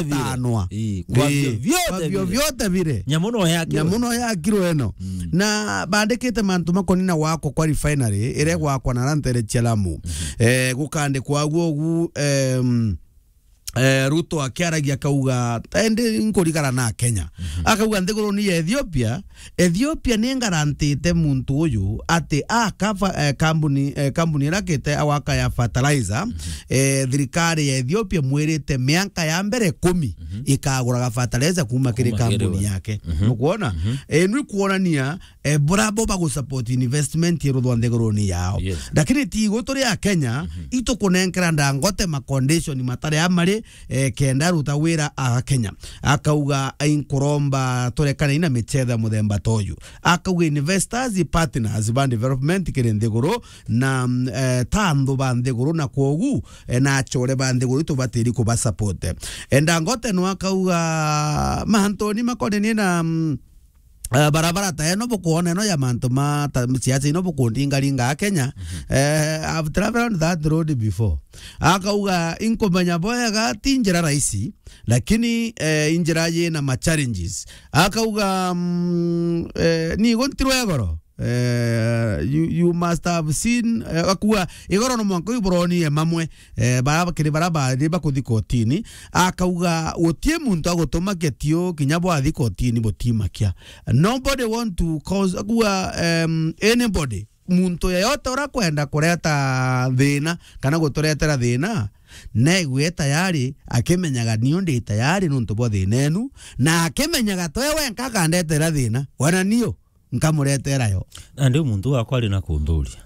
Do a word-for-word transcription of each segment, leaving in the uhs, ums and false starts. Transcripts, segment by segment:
vire. Atanwa. Ii, kwa Ii, vyo vyote kwa vyo vire. Vyote vire. Nyamu no yakirwe. Nyamu no yakirwe eno. Mm. Na bandikite mantu makonina gwakwa kwa refinery, ire gwakwa na rantere cia Lamu. Mhm. Eh, gukandikwa guo gu, em, eh, Ruto akiaragia akauga, "Endi nkurigara na Kenya." Mhm. Akauga, "Nthiguruni ya Ethiopia, Ethiopia ni ngarantite muntu uyu ati aka fa-, eh, kambuni, eh, kambuni irakite awaka ya fertilizer, mhm, eh, thirikari ya Ethiopia mwirite mianka ya mbere ikumi, mhm, ikaguraga fertilizer kuma kiri kambuni yake." Mhm. Nukwona? Mhm. Eh, ni kuonania eh, burabo bagusupport investment iruthwa nthiguruni yao. Yes. Lakini ti igu turi a Kenya, mhm, itukunenkera Dangote ma condition matari amari, eh, kenda aruta wira a Kenya. Akauga, "Inkuromba turekane na michetho ya muthemba ta uyu." Akauga, "Investors, partners ba development kiri nthiguru na, mm, eh, ta anthu ba nthiguru na kwogu, eh, na achore ba nthiguru tubatiri kubasupport." Eh, Dangote no akauga, "Mantuni makonenie na, mm, eh, barabara ta eno bukwona eno ya mantu ma ta siasa ino bukundingaringa a Kenya. Mhm. Eh, I've traveled on that road before." Akauga, "Inkumenya bwega ti njira rahisi, lakini, eh, injira yina ma challenges." Akauga, mm, eh, "Ni igu ntirwe goro." Eh, you, you must have seen, eh, akauga, "Igoro no mwanka uyu buronie mamwe." Eh, bara bakiri bara bari bakuthi kotini, akauga, "Gutie muntu agutuma ketio kinya bwathi kotini butimakia." Nobody want to cause, akauga, em, anybody, muntu yeyote ura kwenda kureta thina kana guturetera thina, negue tayari, akimenyaga niu ndi tayari nuntu bwa thina enu, na akimenyaga twe wenka akandetera thina, wana niu nkamuretera yo. Na ndi muntu wakwa ari na kunthuria.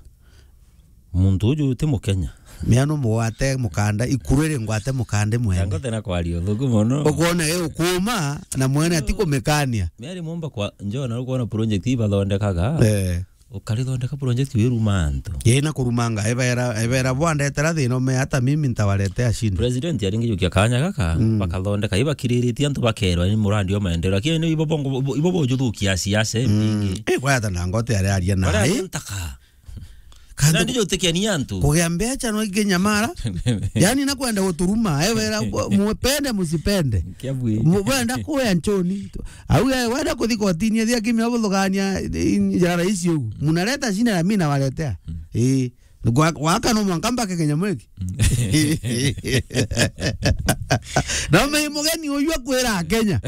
Muntu uju ti Mukenya. Miano mugwate mukanda, ikuru iri ngwate mukanda mwene. Dangote na kwaria uthuku mono. Ukwona e ukuma na mwene ati kumikania. Miari momba kwa njona ukwona project ibathondekaga. Eh. Ukarithondeka project wiruma antu. Ye na kurumanga, ebera, ebera bwandetera thina ume hata mimi ntawaletea shida. President aringi jukia kanya gaka, mm, bakathondeka, ibakiriritie antu bakerwa ni murandi wa maendeleo. Lakini ibo bongo, ibo bojuthukia siasa, mm, mbingi. Eh, kwa hata Dangote ari aria na. Bara ntaka. Kandu na ndijo utekenia antu. Kugia mbecha no inginyamara. Yani nakwenda guturuma. Ewe era, mupende musipende. Kiabwi. Mu-, wenda kuya nchoni. Au ye, wenda kuthi kotini, thia kimya buthugania, njara ici ugu. Munaleta shida na mimi nawaletea. Mm. Eh. Gwa-, gwaka no mwanka mbake Kenya mwiki. Mm. Na me mugeni uyu akwira Kenya.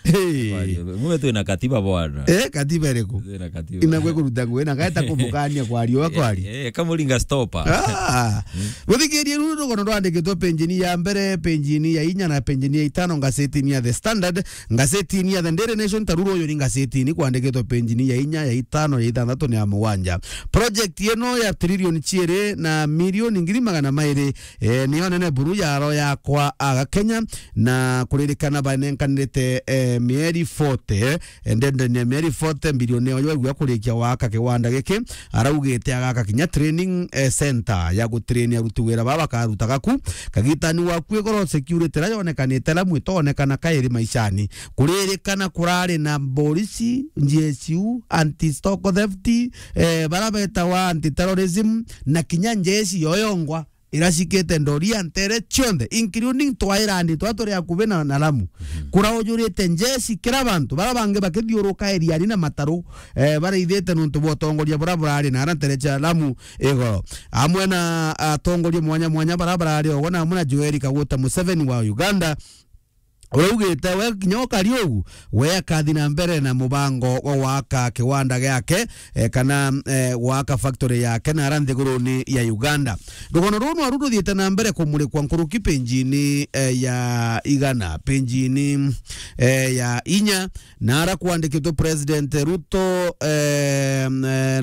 Hey. Mume twina katiba bwana. Eh, katiba iriku? Twina katiba. Ina gwe kuruta ngwe na gaeta kumukania kwa riua kwa ri. Eh, eh, kamuringa stopper. Ah. Mm. Muthikirie ruru rugono rwandikitwe penjini ya mbere, penjini ya inya na penjini ya itano ngazetini ya The Standard, ngazetini ya The Daily Nation, ta ruru uyu ni ngazetini kwandikitwe penjini ya inya, ya itano, ya ithanthatu na ya mugwanja. Project ino ya trilioni ciiri na milioni ngiri magana mairi, eh, niyo nene buru yaro yakwa aga Kenya, na kuririkana banenkanirite, eh, mieri forty, eh, ndendeni ya mieri forty, mbilioni ya waigua kurikia waka kiwanda giki, araugite agaka kinya training, eh, center ya gutrain aruti wira baba bakarutaga ku. Kagitani waku igoro security ira yonekanite ira mwitonekana kairi maishani. Kuririkana kurari na borisi, G S U, anti stock theft, eh, bara betawa anti terrorism, na kinya njeshi yoyongwa. Iracikite ndoria ntere cionthe, including twairani twa turi akubi na, na Lamu. Mhm. Kuraujurite njeshi kira bantu, bara bangi bakithiuruka eriani na mataru, eh, baraithite nuntu bwa utongoria bura burari na ara ntere cia Lamu igoro. Amwe na atongoria mwanya mwanya bara barari ogo na amwe na Yoweri Kaguta Museveni wa Uganda, uraugite we kinya ukari ugu, we akathi na mbere na mubango wa gwaka kiwanda giake, eh, kana, eh, gwaka factory yake na ara nthiguruni ya Uganda. Rugono ruu nwaru ruthiite na mbere kumurikwa nkuruki penjini, eh, ya igana, penjini, eh, ya inya, na ara kwandikitwe President Ruto, eh, eh,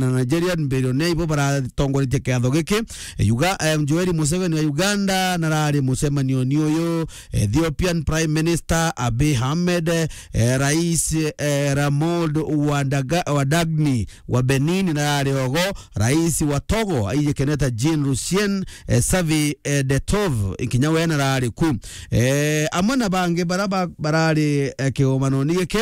na Nigerian billionaire ibo baratongoretie kiatho giki. Uga-, eh, Yoweri Museveni wa Uganda narari mucemanioni uyu, Ethiopian Prime Minister Abiy Ahmed, eh, Rais, eh, Ramold Wadaga-, Wadagni wa Benin narari ogo, Rais wa Togo, aiji keneta Jean Lucien, eh, Savi, eh, Detov, kinya we narari ku. Eh, amwe na bangi bara ba-, barari, eh, kigomanoni giki.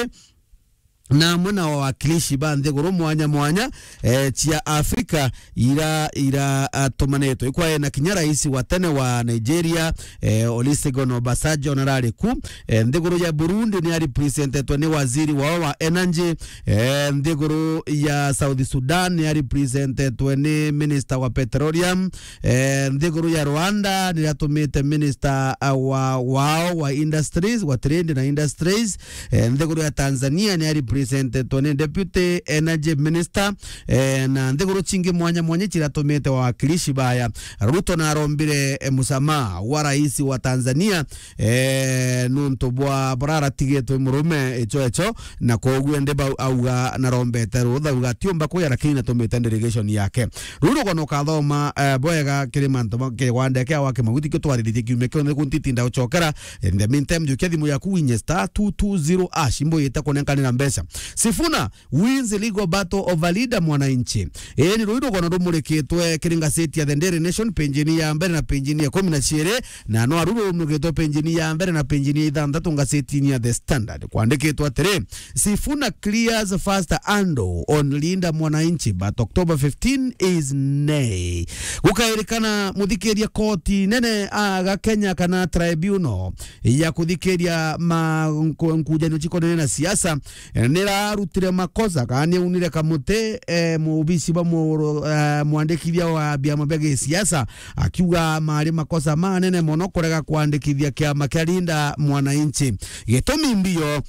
na amwe na wawakilishi ba nthiguru mwanya mwanya, eh, cia Afrika ira, ira, ah, tumanitwe. Ikwae na kinya rais wa tene wa Nigeria, eh, Olusegun Obasanjo narari ku. Eh, nthiguru ya Burundi ni arepresentetwe ni waziri wao wa energy. Eh, nthiguru ya South Sudan ni arepresentetwe ni minister wa petroleum. Eh, nthiguru ya Rwanda ni atumite minister, ah, wa, wao wa industries, wa trade na industries. Eh, nthiguru ya Tanzania ni arepresentetwe ni deputy energy minister. Eh, na nthiguru cingi mwanya mwanya ciratumite wawakilishi baya. Ruto narombire, eh, musamaha wa rais wa Tanzania, eh, nuntu bwa buraratigitwe murume icho icho, na koguo ndi bau auga narombete rutha, auga atiumba kuya, lakini natumite delegation yake. Ruru kono ukathoma, eh, bwega kiri mantu ma, kiri gwandekea wa Kimaguti kio twariritie kiumia kio, ni kuntitinda ucokera. In the meantime, jukia thimu yaku winye star two two zero hash, imbo yita kunenkanira mbeca. Sifuna wins legal battle over Linda Mwananchi. Ii ni rui rugono rumurikitwe kiri ngaseti ya The Daily Nation, penjini ya mbere na penjini ya ikumi na ciiri, na no aru rumurikitwe penjini ya mbere na penjini ya ithanthatu ngasetini ya The Standard. Kwandikitwe atiri, Sifuna clears first handle on Linda Mwananchi, but October fifteen is nay. Gukairikana muthikiria koti nene aga Kenya kana tribunal ya kuthikiria ma nku-, nkujanio cikonene na siasa, eh, nirarutire makosa, kana niaunire kamuti, eh, mubisi bwa mu-, eh, mwandikithia wa biama bia gisiasa, akiuga mari makosa manene mono kurega kwandikithia kiama kia Linda Mwananchi. Gitumi mbio,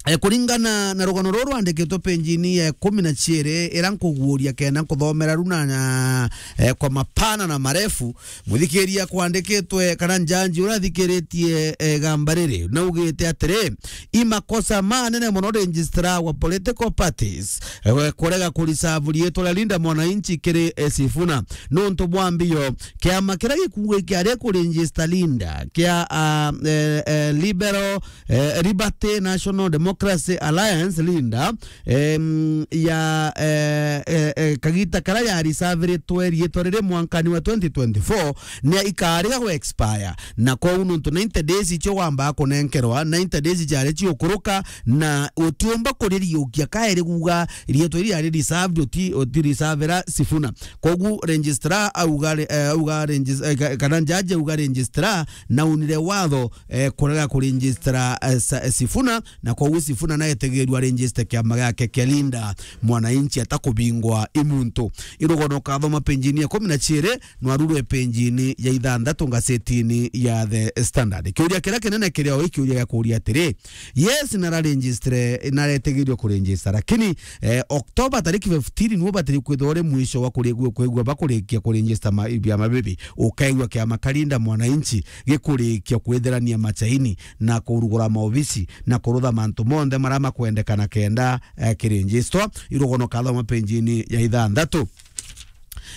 eh, kuringana na rugano ruru rwandikitwe penjini ya ikumi na ciiri, ira nkuguuria kenda nkuthomera runa na, eh, kwa mapana na marefu, muthikiria kwandikitwe kana njanji uria athikiritie, eh, igamba riri, naugite atiri, i makosa manene mono registrar wa political parties, eh, kurega kurisavu riitwa ria Linda Mwananchi kiri, eh, Sifuna. Nuntu bwa mbio, kiama kiria gikuuga kiari kuregister Linda kia, ah, eh, eh, Liberal, eh, Liberty National Democracy Alliance, Linda, em, ya, eh, eh, eh, kagita karia yarisaviritwe riitwa riri mwankani wa twenty twenty-four, ni ikariga gwa expire. Na kwou nuntu ninety days icio wambaga kunenkerwa, ninety days ciari ciukuruka, na utiumba kuririukia kairi kuuga riitwa riri riari reserved, uti, uti reservera Sifuna. Kogu registrar auga re-, eh, auga regis-, eh, ka-, kana judge auga registrar naunire watho, eh, kurega kuregistra, eh, sa-, eh, Sifuna, na koguo Sifuna naetegerwa register kiama giake kia Linda Mwananchi atakubingwa i muntu. Irugono kathoma penjini ya ikumi na ciiri, nwarurwe penjini ya ithanthatu ngasetini ya The Standard. Kiuria kiria kinene kirio i kiuria gia kuuria atiri, yes, nara registre, naretegerwa kuregistra, lakini, eh, October tariki fifteen niwe batiri kwithirwa uri mwisho wa kurigua, kwigua bakurikia kuregistra ma-, biama bibi. Ukaigua kiama kia Linda Mwananchi gikurikia kwithirania machaini na kurugura maobisi na kurutha mantu monthe maria makwendekana kenda, eh, kiregistrwa. Irugono kathoma penjini ya ithanthatu.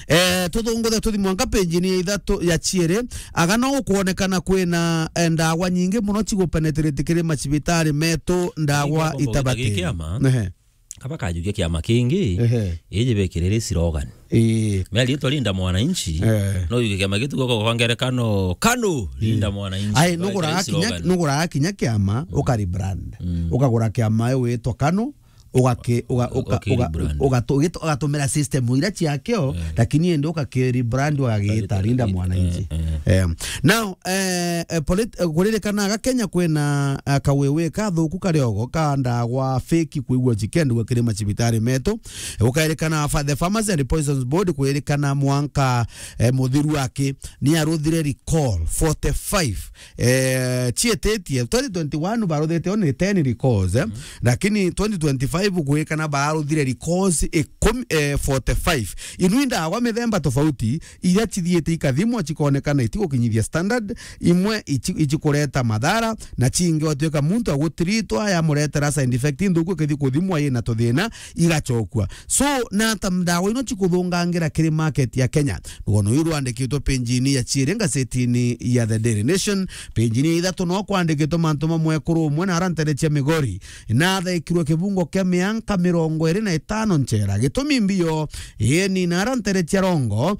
Eh, tuthunguthe tuthi mwanka penjini ya ithatu ya ciiri. Aga no gukwonekana kwina, eh, ndawa nyingi mono cigupenetrate kiri macibitari metu, ndawa itabatiri. Kiama. Ehe. Kaba kajukia kiama kingi, ehe, iji bekiriri slogan. Ii. Mea riitwa Linda Mwananchi, eh, no yuge kiama gitu kwa, kwa ngerekano, KANU, Linda Mwananchi. Ai, nuguraga kinya, nuguraga kinya kiama, mm, ukarebrand. Mm. Ukagura kiama witwa KANU, ugaki-, uga-, uka-, uga-, ugatumira system iria ciakio, eh, lakini indi ugakirebrand ugagiita Linda Mwananchi. Eh, eh. Em, now, eh, eh, polit-, eh, kuririkanaga Kenya kwina, eh, kawewe kathuku kariogo ka ndawa fake kwigua cikendua kiri macibitari metu. Eh, ukairikana fa-, the Pharmacy and Poisons Board kwirikana mwanka, eh, muthiru aki ni aruthire recall forty-five, eh, cietitie. Twenty twenty-one baruthite only ten recalls, eh. Mm. Lakini twenty twenty-five gwikana baruthire recalls ikumi, eh, forty-five. Inu i ndawa mithemba tofauti, iria cithiite ikathimwa cikonekana itigukinyithia standard, imwe ici-, icikureta mathara, na cingi gwatuika muntu agutiritwa yamuretera side effect nthuku ikithi kuthimwa yina tuthina igacokua. So, na ata ndawa ino cikuthungangira kiri market ya Kenya? Rugono ruu rwandikitwe penjini ya ciiri ngasetini ya The Daily Nation, penjini ya ithatu no kwandikitwe mantu mamwe kuru umwe na ara ntere cia Migori, nathekirwe kibungo kia mianka mirongo iri na itano nchera. Gitumi mbio, ieni na ara ntere cia Rongo,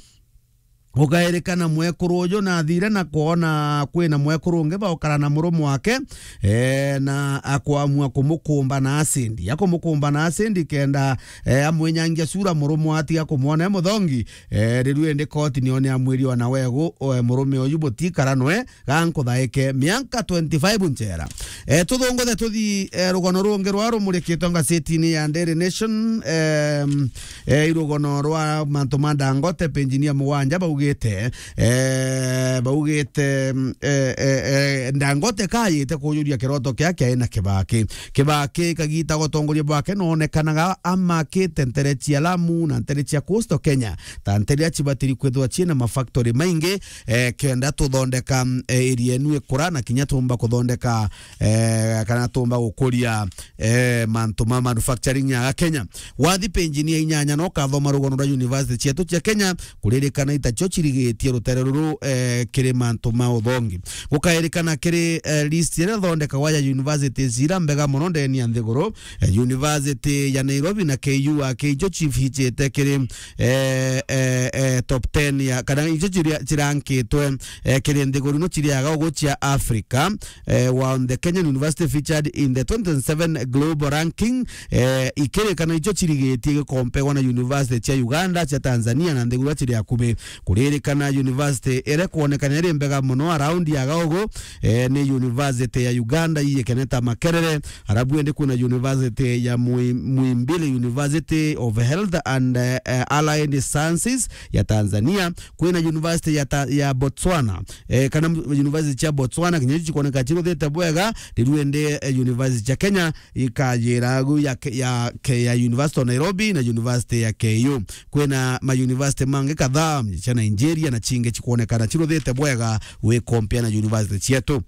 Gukairikana mwekuru uju nathire na kwona kwina mwekuru ungi baukara na murume wake, eh, na akwamua kumukumba na acindi. Akumukumba na acindi kenda, eh, amwinyangia sura murume atiga kumwona e muthongi. Eh, riu indi koti niyo niamwiri ona wegu, eh, murume uju butikara nwe, gankuthaike mianka twenty-five nchera. Eh, tuthunguthe tuthi, eh, rugono rungi rwa rumurikitwe ngacetini ya Daily Nation, em, eh, i rugono rwa mantu ma Dangote, penjini ya mugwanja baugite, eh, baugite, mm, eh, eh, eh, Dangote kayite kujuria kiroto kia kiae na Kibaki. Kibaki kagita gutongoria bwake nonekanaga amakite ntere cia Lamu na ntere cia Coastal Kenya, ta ntere iria cibatiri kwithirwa ciina mafactory maingi, eh, kenda tuthondeka, mm, eh, area enu ikura na kinya tumba kuthondeka, eh, kana tumba gukuria, eh, mantu ma manufacturing ya Kenya. Wathi penjini ya inyanya no kathoma rugono rwa university cietu cia Kenya, kuririkana itacio cirigitie rutere ruru, eh, kiri mantu ma uthongi. Gukairikana kiri, eh, list iria thondekagwa ya universities ira mbega mono ndeni ya nthiguru, eh, University ya Nairobi na K U A K icio cibichite kiri, eh, eh, eh, top ten ya, kana icio ciria-, cirankitwe, eh, kiri nthiguru ino ciriaga ugu cia Africa, eh, while the Kenyan University featured in the twenty twenty-seven global ranking, eh, ikirikana icio cirigitie gikompegwa na university cia Uganda, cia Tanzania na nthiguru iria ciri akubi. Kuririkana university iria kwonekana iri mbega mono around ya gaugu, eh, ni university ya Uganda, iyikene ta Makerere, arabu indi kwina university ya Mwi-, Muhimbili University of Health and, eh, eh, Allied Sciences ya Tanzania, kwina university ya ta-, ya Botswana, eh, kana university cia Botswana, kinya icio cikwoneka ciruthite bwega, riu indi, eh, university cia Kenya ikajira agu ya ke-, ya ke-, ya University of Nairobi na University ya K U. Kwina ma university mangi kadhaa cia Nigeria na cingi cikwonekana ciruthite bwega wikompea na university cietu.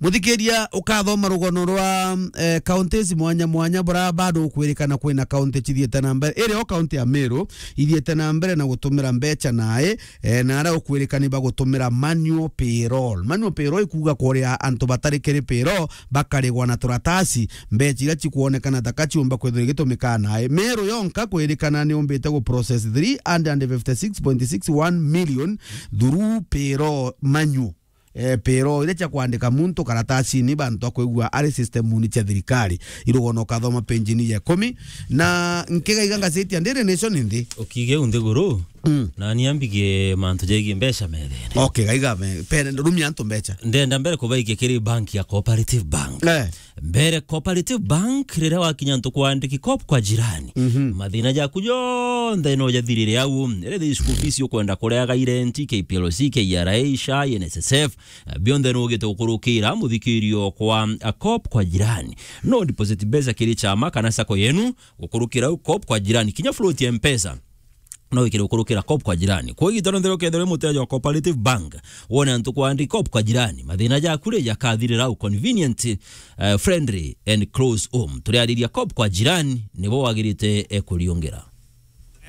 Muthikiria, ukathoma rugono rwa, eh, counties mwanya mwanya bura bado ukwirikana kwina county cithiite na mbere. Iri o county ya Meru ithiite na mbere na gutumira mbecha nae, eh, na aria ukwirikani bagutumira manual payroll. Manual payroll ikuuga kuria antu batari kiri payroll bakarigwa na turatasi, mbecha iria cikwonekana ta ka ciumba kwithirwa igitumika nae. Meru yonka kwirikana ni umbite gu process three hundred fifty-six point six one million through payroll manual. Eh, payroll iria cia kwandika muntu karatasini bantu akwigua ari systemuni cia thirikari. Irugono ukathoma penjini ya ikumi. Na nkigaiga ngaceti ya Daily Nation nthi. Ukige u nthiguru, mm, na ni ambige mantu jegie mbeca methene. Okay, gaiga me, pere, rumia antu mbecha. Ndenda mbere kubaikia kiri bank ya Cooperative Bank. Eh. Mbere Cooperative Bank, riria wakinya ntu kwandiki Coop kwa jirani, mhm, mathina jaku jonthe no jathirire au. Riria school fees ukwenda kureaga, irenti, K P L C, K R A, SHA, N S S F, bionthe no ugite gukurukira muthikirio kwa, a, Coop kwa jirani. No deposit mbeca kiri chama kana sacco yenu, gukurukira au Coop kwa jirani. Kinya float ya Mpesa no wikire gukurukira Coop kwa jirani. Kwa igita rionthe ukethirwa uri muteja wa Cooperative Bank, wone antu kwandi Coop kwa jirani, mathina jaku ri jakathirira au. Convenient, eh, friendly and close home. Turiariria Coop kwa jirani, nibo wagirite, eh, kuriungira.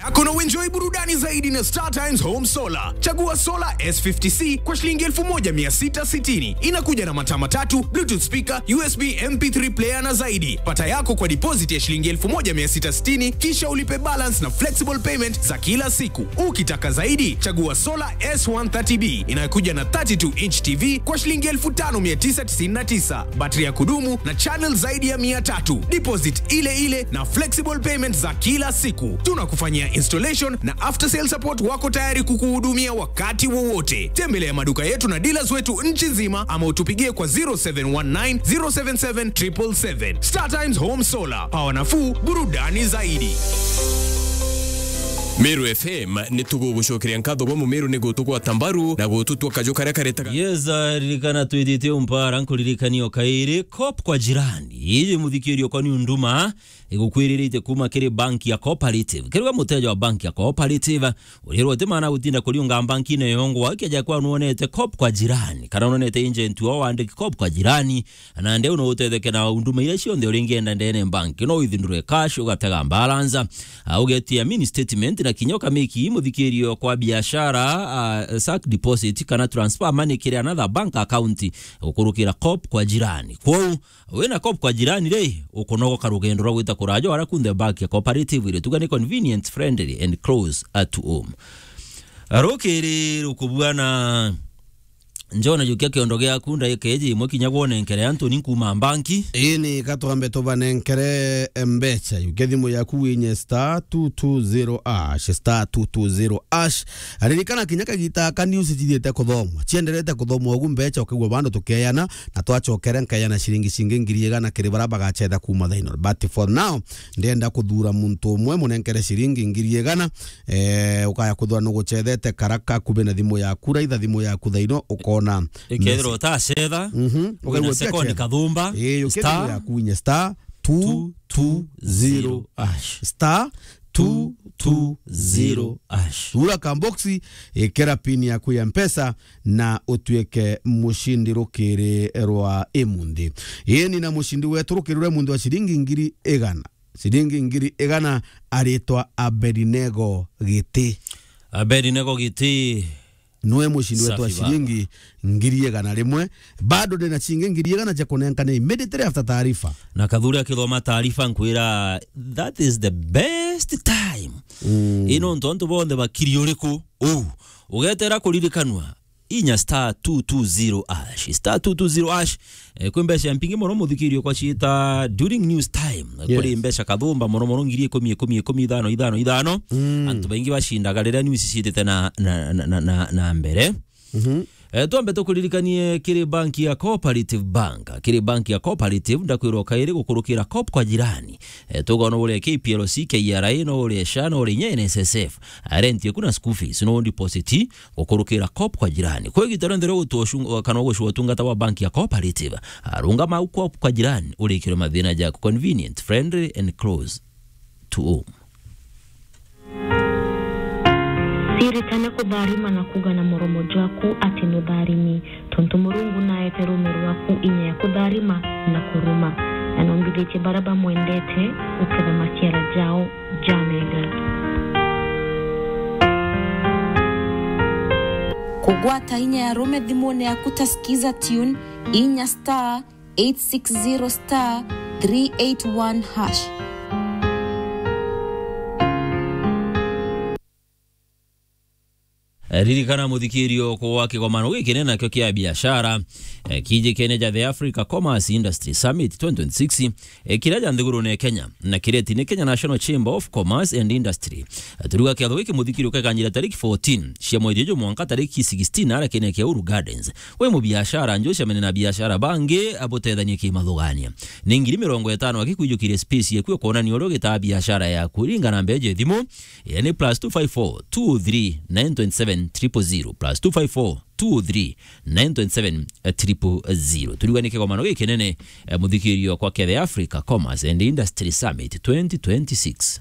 Yako na uenjoy burudani zaidi na Star Times Home Solar. Chagua Solar S fifty C kwa shilingi elfu moja mia sita sitini. Inakuja na mataa matatu, Bluetooth speaker, U S B M P three player na zaidi. Pata yako kwa deposit ya shilingi elfu moja mia sita sitini, kisha ulipe balance na flexible payment za kila siku. Ukitaka zaidi, chagua Solar S one thirty B inayokuja na thirty-two inch T V kwa shilingi elfu tano mia tisa tisini na tisa, battery ya kudumu na channel zaidi ya mia tatu. Deposit ile ile na flexible payment za kila siku. Tunakufanyia installation na after sale support, wako tayari kukuhudumia wakati wowote. Tembelea maduka yetu na dealers wetu nchi nzima ama utupigie kwa zero seven one nine, zero seven seven, triple seven. Star Times Home Solar, power nafuu, burudani zaidi. Meru F M, ni tugugucokeria nkatho bwa Mumeru ni gutugwata mbaru na gututua kaju karia karetaga. Yes, ah, ririkana twithitie umpara, nkuririkania o kairi, Coop kwa jirani. Iji muthikirio kwani unduma, igukwiriritie kuma kiri bank ya Cooperative. Kiri we muteja wa bank ya Cooperative, urirwo uti maana gutinda kuriunga bankine yongwa, keja kwa nuonete Coop kwa jirani, kana nuonete agent wao wandiki Coop kwa jirani, na nandi u no utetheke na unduma iria cionthe uringienda ndene bank. No withindure cash, ugatega balance, ah, ugetia mini statement, na kinya ukamiki muthikirio kwa biashara, ah, sack deposit kana transfer money kiri another bank account, gukurukira Coop kwa jirani. Kwou, wina Coop kwa jirani ri, ukunogoka rugendo rwa gwita kuraja ara kunthe bank ya Cooperative iri tuga ni convenient, friendly and close at home. Rukiri rukubuana. Njona, jukia kiondo giaku ndaika iji imwe kinya gwone nkere antu ni nkuuma mbanki. Ini, ka twambe tubanenkere mbecha. Jukia thimu yaku winye star two two zero hash, star two two zero hash. Ririkana kinya kagita ka news cithiite kuthomwa. Cienderete kuthomwa ugu mbecha ukigua bandu tukeana, na twacokere nkeana ciringi cingi ngiri igana kiri bara bagacetha kuuma thaino. But for now, ndenda kuthura muntu umwe munenkere ciringi ngiri igana. Eh, ukaya kuthura nugucethete karaka kubi na thimu yaku, raitha thimu yaku thaino, ukona ikethirwa message. Utacetha, mhm, wina ukaigua second ukacetha. Kathumba, eh, ukia thimu star yaku winye star two two zero hash. Star two two zero hash. Thura kamboxi, ikira pin yaku ya Mpesa na utuike mucindi rukiri rwa imunthi. Ini na mucindi wetu rukiri rwa imunthi wa ciringi ngiri igana. Ciringi ngiri igana aritwa Abedinego Giti. Abedinego Giti. Nwe mucindi wetu wa ciringi ngiri igana rimwe. Bado ndina cingi ngiri igana cia kunenkana immediately after taarifa. Na Kathuri akithoma taarifa nkwira, that is the best time. Mm. Ino ntu antu bonthe bakiri uriku? Uu. Ugetera kuririkanwa. Inya star two two zero hash. Star two two zero hash. Eh, kwi mbeca mpingi mono muthikirio kwa ciita during news time. Yes. Kuri mbeca kathumba mono mono ngiri ikumi, ikumi, ikumi, ithano, ithano, ithano. Mm. Antu baingi bacindaga riria news ciitite na, na, na, na, na, na mbere. Mhm. Eh, twambe tukuririkanie kiri banki ya Cooperative Bank. Kiri banki ya Cooperative, ndakwirwa kairi gukurukira Coop kwa jirani. Eh, tugona uria K P L C, K R A, no uria SHA, no uria inya N S S F. Rent yaku na school fees, no deposit, gukurukira Coop kwa jirani. Kwa igita rionthe ria gutua ucung-, kana gucua utungata wa banki ya Cooperative, arungama au Coop kwa jirani, urikirwe mathina jaku. Convenient, friendly and close to home. Siritane kutharima na kuga na muromo jwaku ati nutharimi, tontu Murungu naete ruume rwaku inya ya kutharima na kuruma, na nombithitie baria bamwendete guketha maciara jao. Jamega. Kugwata inya ya rume thimune yaku ta Skiza Tune, inya star eight six zero star three eight one hash. Eh, ririkana muthikirio kwa kigomano giki ni nakio kia biashara, eh, kijikene ja The Africa Commerce Industry Summit twenty twenty-six, eh, kiria ja nthigurune Kenya, na kiretine Kenya National Chamber of Commerce and Industry. Eh, turiuga kiatho giki muthikirio kekanjira tariki fourteen cia mweri uju mwanka tariki sixteen aria kene kia Uhuru Gardens. Wi mubiashara, njucemene na biashara bangi, abutethanie kimathugania. Ni ngiri mirongo itano akikwijukirie space yaku ya kwonania uria ugitaa biashara yaku. Ringa namba iji thimu, yani plus two five four, two three, nine twenty seven, triple zero, plus two five four, two three, nine twenty seven, triple zero. Turiuga ni kigomano gikinene, eh, muthikirio kwa kia The Africa Commerce and Industry Summit twenty twenty-six.